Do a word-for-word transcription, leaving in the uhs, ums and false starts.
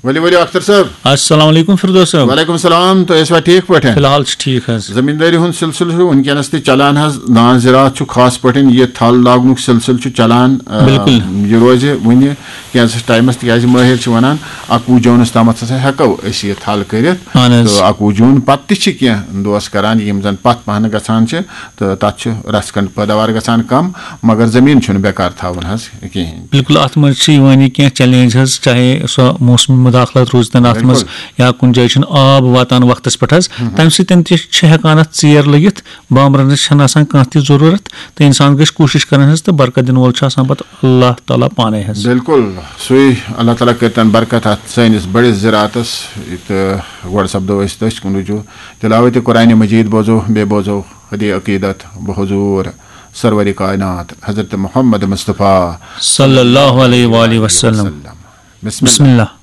ؤلِو ؤلِو اختر صٲب۔ السلام علیکم فردوس صٲب۔ وعلیکم السلام، تُہۍ ٲسوا ٹھیٖک پٲٹھۍ؟ فی الحال چھُ ٹھیٖک حظ۔ زٔمیٖندٲری ہُنٛد سلسلہٕ چھُ وٕنکیٚنَس تہِ چلان حظ۔ دان زِراعت چھُ خاص پٲٹھۍ یہِ تھل لاگنُک سلسلہٕ چھُ چلان۔ آ، بِلکُل۔ یہِ روزِ وٕنہِ کینٛژھس ٹایمَس، تِکیٛازِ مٲہِر چھِ وَنان اَکوُہ جوٗنَس تامَتھ ہسا ہٮ۪کو أسۍ یہِ تھل کٔرِتھ۔ اہن حظ۔ تہٕ اَکوُہ جوٗن پَتہٕ تہِ چھِ کینٛہہ دوس کَران یِم زَن پَتھ پَہن گژھان چھِ، تہٕ تَتھ چھُ رَژھ کھنٛڈ پٲداوار گژھان کَم، مگر زٔمیٖن چھُنہٕ بیکار تھاوُن حظ کِہیٖنۍ۔ بِلکُل، اَتھ منٛز چھِ یِوان یہِ کینٛہہ چیلنج حظ، چاہے سۄ موسمی مداخلت روٗزتن اَتھ منٛز، بِلکُل۔ یا کُنہِ جایہِ چھُنہٕ آب واتان وقتس پٮ۪ٹھ حظ، تَمہِ سۭتۍ تہِ چھِ ہٮ۪کان اَتھ ژیر لٔگِتھ، بامبرنٕچ چھَنہٕ آسان کانٛہہ تہِ ضروٗرت، تہٕ اِنسان گژھِ کوٗشِش کَرٕنۍ حظ تہٕ برکت دِنہٕ وول چھُ آسان پَتہٕ اللہ تعالیٰ پانے حظ۔ بِلکُل، سُے اللہ تعالیٰ کٔرتن برکت اَتھ سٲنِس بٔڑِس زِراعتس۔ تہٕ گۄڈٕ سپدو أسۍ تٔتھۍ کُن رجوع، تِلاوتِ قرآنِ مجیٖد بوزو، بیٚیہِ بوزو خدی عقیدت بحضور سرور کائنات حضرت محمد مصطفیٰ صلی اللہ علیہ وآلہ وسلم۔ بسم بسم اللہ۔ اللہ۔